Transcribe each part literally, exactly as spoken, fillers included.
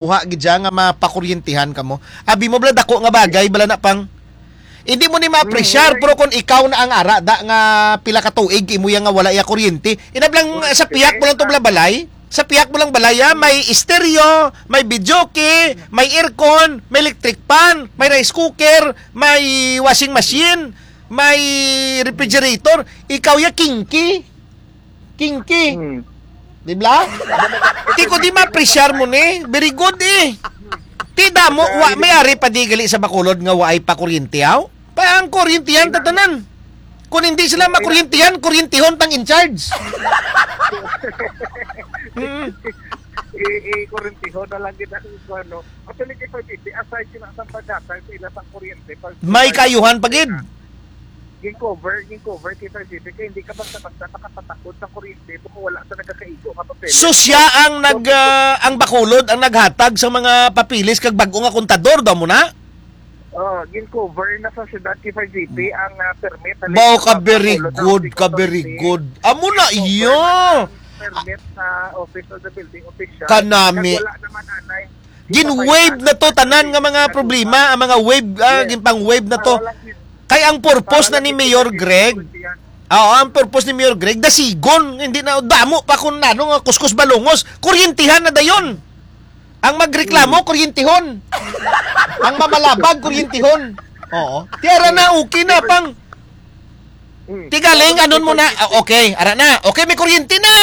makuha gid siya nga mapakuryentihan kamo. Abi mo bala, dako nga bagay bala na, pang. Hindi mo ni ma-appreciate, Mm. pero kung ikaw na ang ara da nga pila ka tuig imo ya nga wala ya kuryente, inablang sa pihak mo lang to bala balay, sa pihak mo lang balay, ah, may estereo, may videoke, may aircon, may electric fan, may rice cooker, may washing machine, may refrigerator, ikaw ya kinky. Kinky. Hmm. Di ba? Ti ko di ma-appreciate mo ni. Very good eh. Ti damo, wa, may ari pa di gali sa Bacolod nga waay pa kuryente, aw? Pa ang kuryente yan, tatanan. Kung hindi sila makuryentihan, kuryentihon tang in charge. Mm. I, i kuryentihon na lang gid ang ano. Actually, kay Pagiti, aside sila sa paghatag sa ila sa kuryente, pag May kayuhan pa gid. Gin-cover, gin-cover kay Pagiti, kay hindi ka basta-basta makapatakod sa kuryente kung wala sa nagakaigo nga papeles. So, siya ang So, nag, ah, ang Bacolod ang naghatag sa mga papeles kag bag-o nga kontador daw mo na? Oh, gin-cover na sa syudad kay Pagiti ang, ah, permit. Mao ka, very good, ka, very good. Amo na iya. Permit sa office of the building official. Kanami. Kag wala naman anay. Gin-waive na to, tanan nga mga problema, ang mga wave, ah, Yes. ginpang-wave na to. Ah, wala gid. Kay ang purpose Para na ni lang Mayor gid Greg, kuryente yan. Oo, ang purpose ni Mayor Greg, dasigon, hindi na damo pa kung ano nga kuskus balungos, kuryentihan na dayon. Ang magreklamo, Mm. kuryentihon. Ang mamalabag, kuryentihon. Oo. Tiara na, okay na, pang. Mm. Tigaling, anon mo na. Ah, okay, ara na. Okay, may kuryente na.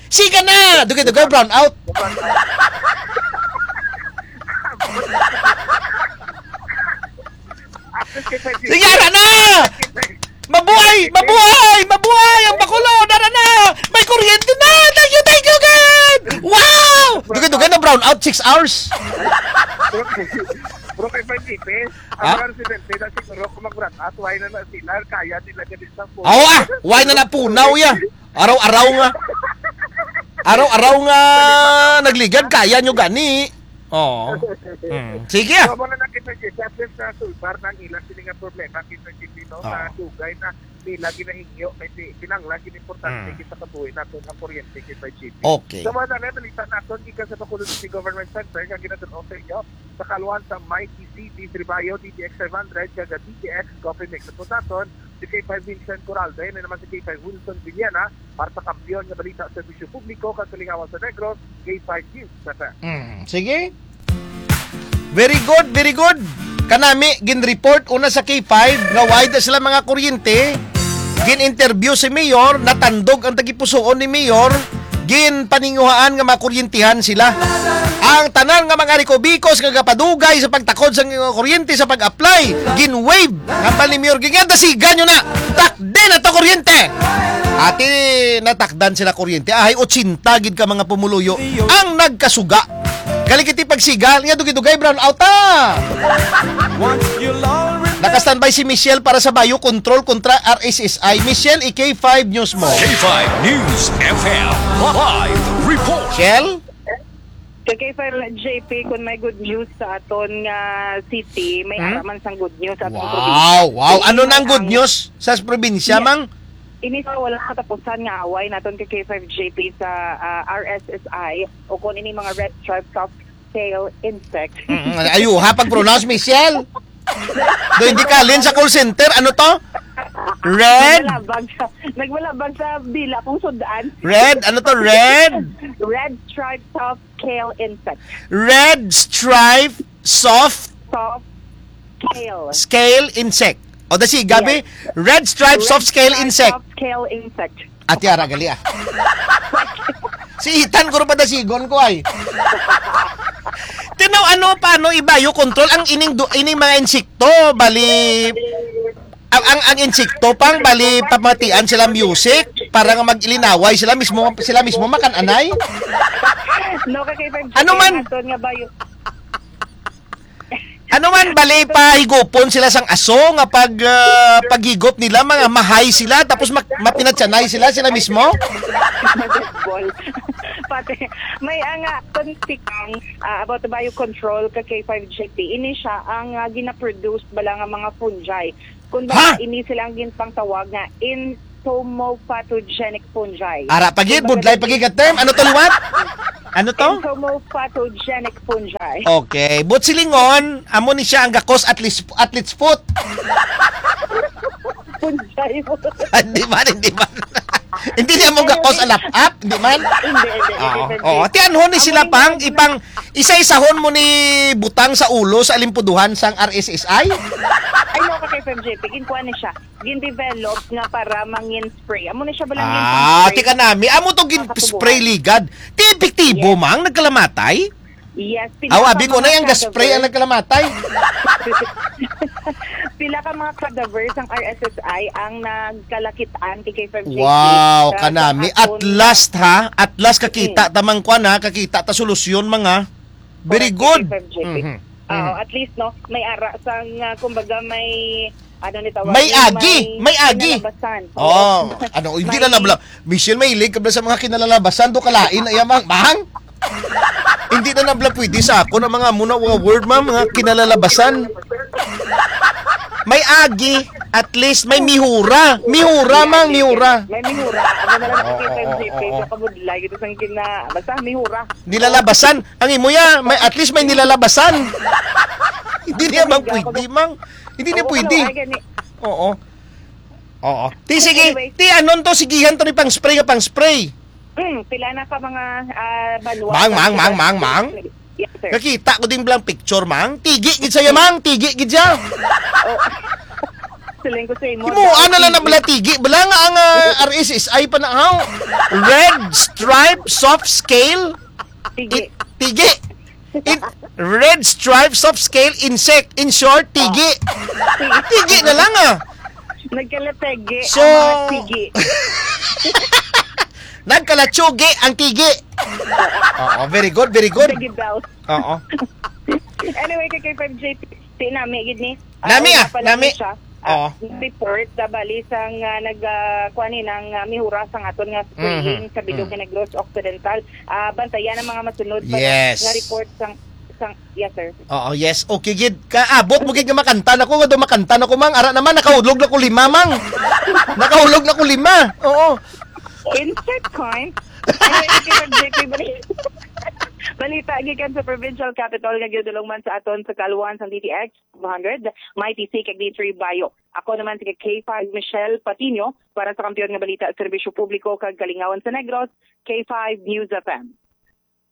Siga na. Dugay-dugay, brown out. Sige, ara na. Mabuhay! Mabuhay! Mabuhay ang Bacolod! Ara na! May kuryente na! Thank you, thank you, God! Wow! Dugay-dugay na brown out, six hours. Bro, kay Pagiti, Ha? ang mga residente na siguro kung mag-run out, why na na sila? Kaya nila gani sa phone. Oo, ah! Why na napunaw ya? Araw-araw nga. Araw-araw nga nagligad, kaya nyo gani. Oo. Mm. Sige, ah. So, muna na kita, Jesse, at least nasulbar na ang ilang sini nga problema, kita, Jesse, no? Oo. Sa dugay na nila ginahingyo, kay ti-, kinahanglan, gid importante, Mm. kita kabuhi nato ang kuryente, kita, Jesse. Okay. So, mga dali, balita naton, gikan sa Bacolod City Government Center, nga ginadul-ong sa inyo, sa kaluhan sa Mighty C D Three Bayo, D T X five hundred, kag D T X Coffee Mix. Sa putaton, si K five Vincent Coralde, na naman si K five Wilson Villena, para sa Kampiyon nga Balita, Serbisyo Publiko, kag Kalingawan sa Negros, K five News. Tata. Mm, sige. Very good, very good. Kanami, gin-report una sa K five nga wala sila mga kuryente. Gin-interview si Mayor, natandog ang tagipusoon ni Mayor. Ginpaninguhaan nga makuryentihan sila. Ang tanan nga mga rikobikos nga gapadugay sa pagtakod sa kuryente sa pag-apply, gin-waive. Hambal ni Mayor Ging, dasigan nyo na. Takdi na to kuryente. Ati, natakdan sila kuryente. Ahay, ochenta gid ka mga pumuluyo ang nagkasuga. Galing kiti pagsiga, nga dugay-dugay, brown out, ah. Naka-standby si Michelle para sa Bayo Control kontra R S S I. Michelle, i-K five News mo. K five News F M live report. Michelle? Kay K five J P, kung may good news sa aton nga city, may Hmm? ara man sang good news sa aton Wow, probinsya. Wow. Ano Ini nang good ang news sa probinsya, Yes. Mang? Ini sa walang katapusan nga away naton kay K five J P sa, ah, R S S I o kung ini mga red stripe soft scale insect. Mm, ayo, ha, pag-pronounce, Michelle. Do, hindi ka alin sa call center. Ano to? Red? Nagmalabag sa, nagmalabag sa dila kong sudan. Red? Ano to? Red? Red stripe soft scale insect. Red stripe soft Soft scale. scale insect. O, dasi, Gabi, Yes. red stripe soft scale Red stripe insect. Soft scale insect. Ati, ara, gali, ah. Si Ethan, guro pa dasigon ko, ay. Tinaw, ano, paano i-biocontrol ang ining du-, ining mga insekto? Bali, ang, ang, ang insekto pang, bali, pamatian sila music para nga mag-ilinaway sila mismo, sila mismo makan-anay? No, kay Ano man? Naton nga bio-, Ano man, bali, pahigupon sila sang aso nga pag, ah, paghigop nila, mga mahay sila, tapos mak-, mapinatsanay sila, sila mismo? Pati, may, ah, nga, kung tikang, ah, about the biocontrol ka K five J P, ini siya ang, ah, ginaproduce bala nga mga fungi. Kung Ha? Bala, ini sila ang ginpangtawag nga entomopathogenic fungi. Ara, pagi, Kung budlay, baga- pagi ka term. Ano to liwat? Ano to? Entomopatogenic fungi. Okay. But silingon, amo ni siya ang gakos at least, at least foot. Fungi mo. Hindi man, hindi man. Hindi niya mo gakos alap-ap, hindi man. Hindi, hindi, hindi, Oo, hindi. Oo. Tianhon ni Amo sila ni pang mga ipang isa-isahon mo ni butang sa ulo sa alimpuduhan sang R S S I? Ay, no, ka K five J P, ginkuha ni siya. Gin-develop nga para mangin spray. Amo na siya ba lang yung Ah, spray? Tika nami. Amo to gin Nakatubuan. Spray ligad. Ti epektibo, Yes. Mang, nagkalamatay? Yes, pila Aw, ka abi ko na mga yung gaspray ang cadaver. Nagkalamatay. Pila ka mga cadavers ang R S S I ang nagkalakitaan kay K five J P. Wow, Sa kanami. At aton last, ha? At last, kakita Mm. ta man, kwan, ha? Kakita ta solusyon, mga. Very Correct, good. K five J P. Mhm. Oo, Mhm. at least, no, may ara sang, ah, kumbaga, may, ano ni tawag, May agi, may may agi. Kinalabasan. Oo. Oo. Ano, hindi May na nabla-, Michelle, mahilig ka ba sa mga kinalalabasan? Do kalain na yamang, Mang? Hindi na nabla pwede sa ako na mga muna, mga word, ma, mga kinalalabasan. May agi, at least may mihura. Mihura, May mang, agi, mihura. May mihura. Ano na lang Oo, ang oo, K five J P, oo. Sa kabudlay, ito sang gina-, basta mihura. Nilalabasan. Ang imo ya, may, at least may nilalabasan. Hindi niya Hindi mang ako pwede, mang. Hindi niya Oo, pwede. Ano, ay, gani. Oo. Oo. Ti, sige. Anyway. Ti, anon to? Sigihan to ni pang spray nga pang spray. Hmm, pila na ka mga, ah, banwa Mang, sa mang, mang, Sudan? Mang, mang. Yes, sir. Nakita ko din blang picture, mang. Tigi gid siya, mang. Tigi gid siya. Oh. Siling ko sa imo, Imo, daw ano lang na tigi. Bala tigi. Bala nga ang, ah, R S S I pa na, haw? Red Stripe Soft Scale. Tigi. It, tigi. It, Red Stripe Soft Scale Insect. In short, tigi. Tigi. Tigi na lang, ah. Nagkalategi So, ang mga tigi. Nagkalatsugi ang tigi. Oo, very good, very good. Sige daw. Oo. Anyway, kay K five J P, si nami gid ni. Ah, Nami, wala ah, pa lang nami. Siya. Ah, Oo. Report na bali sang, ah, nag, ah, kuwan ni, nang, ah, mihura sang aton nga spraying Mhm. sa Bilog Mm. nga Negros Occidental. Ah, bantayan ang mga masunod pa Yes. nga report sang, sang, yes, sir. Oo, yes. Okay, gid. Kaabot mo gid nga makanta na ko, nga daw makanta na ko, mang. Ara naman, nakahulog na ko lima, mang. Nakahulog na ko lima. Oo. Insert coin. Anyway, okay, J P, bali-, balita gikan sa provincial capital nga gidulong man sa aton sa kaluan sang D T X two hundred, Mighty C kag D three Bayo. Ako naman si K five Michelle Patino para sa Kampiyon nga Balita, Serbisyo Publiko kag Kalingawan sa Negros, K five News F M.